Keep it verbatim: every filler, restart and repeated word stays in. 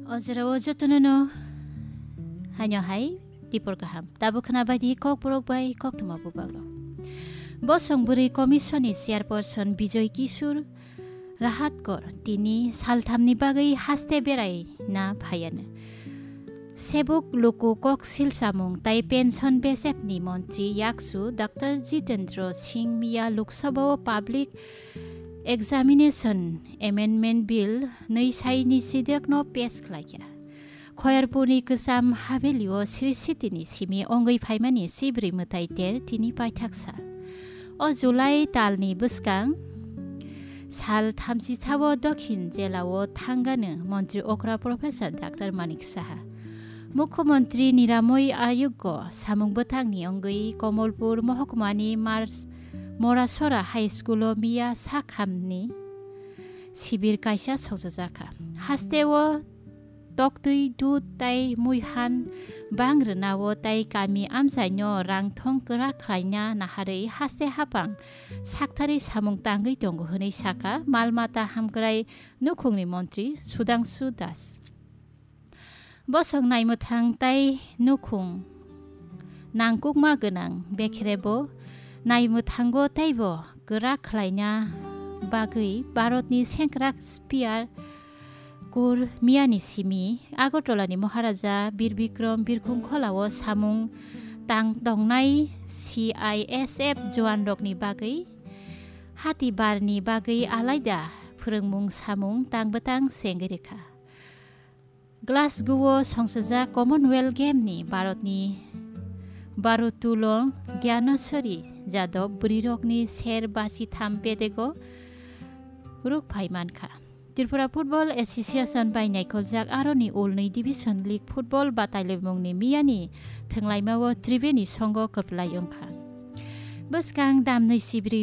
O jora o jotono no haino hai tipor kaham. Tabuk khna bai di Kokborok bai Koktwma bubagrok. Bosong Bwrwi Commission ni Chairperson Bijoy Kishore Rahatkar tini salthamni bagwi haste berai na phaiano. Sebuk luku kok silsamung tai pension besepni montri yaksu Doctor Jitendra Singh miya Lok Sabha o Public Examination Amendment Bill nwi sai ni sidek no pass khlaikha. Khoyarpurni kwcham habelio Sri Sitini simi ongwi phaimani Sibri mwtai ter tini paithak sal. O July talni bwskang sal thamchi chao Dokhin jelao thangano montri okra Professor Doctor Manik Saha. Mukhyamantri Niramoi Ayoggo samung bwthangni ongwi Komolpur mohokmani Mars Morasora High School o miya sakhamni sibir kaisa songchajakha. Hasteo toktwi dud tai muihan bang rwnao tai kami amchaino rangthong kwrak khlaina naharwi haste hapang sakthari samung tangwi tongo hwnwi sakha mal mata hamkrai nukhungni montri Sudhangshu Das. Bosong naimwthang tai nukhung nangkukma gwnang bekherebo naimwthango teibo kwrak khlaina bagwi Bharatni sengkrak spear kur miyani simi Agartalani Maharaja Bir Bikram Birkhung Kholao samung tang tongnai C I S F juanrokni bagwi hati barni bagwi alaida phwrwngmung samung tang bwtang sengwi rwkha. Glasgow o songchajak Commonwealth Game ni Bharatni Bharottolong Gyaneshwari Jadhav bwrwirokni ser basi tham bedego ruk phai mankha. Tripura Football Association bai naikholjak aroni ulnwi Division League Football batailwimungni miyani thwnglaimao Tribeni songo kwplai wngkha. Bwskang damnwi sibrio